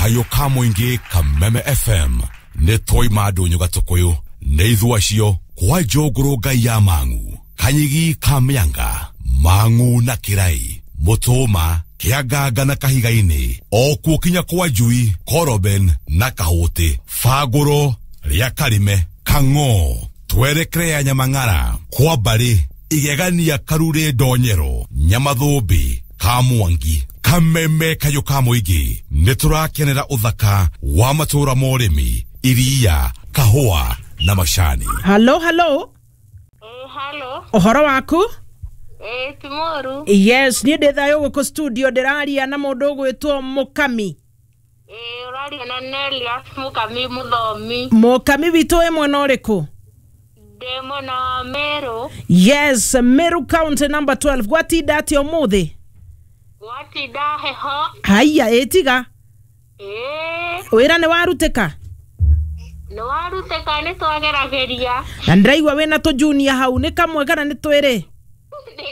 Kayũ ka mũingĩ Kameme FM nĩ twaima ndũnyũ gatũkũyũ nĩ ithuĩ acio kwa njũngũrũ ngai ya mang'u kanyigi ka mĩanga mang'u na kĩrai mũtũma kĩanganga na kahiga-inĩ o kuo kinya kwa njui koroben na kahũtĩ bangũro rĩa karime kang'o twerekere ya nyamang'ara kwa mbarĩ igegania karurĩ ndonyero nyamathũmbĩ ka mwangi Kameme kayũ ka mũingĩ nĩ tũrakenera ũthaka wa matũũra ma ũrĩmi iria kahũa na macani. Halo, halo. Halo. Ũhoro waku? Ti mũru. Yes, niĩ ndĩ thayũ gũkũ studio ndĩraria na mũndũ ũgwĩtwo Mũkami. Ũraria na Nelias Mũkami mũthomi. Mũkami witũ wĩ mwena ũrĩkũ? Ndĩ mwena wa Meru. Yes, Meru County number 12. Gwatinda atĩa ũmũthĩ? Gwatinda heho. Haiya, ĩtiga. Wĩra nĩ warutĩka? Nĩ warutĩka, nĩ twagerageria. Na ndĩraigua wĩna tũjunia hau, nĩ kamwe kana nĩ twĩrĩ?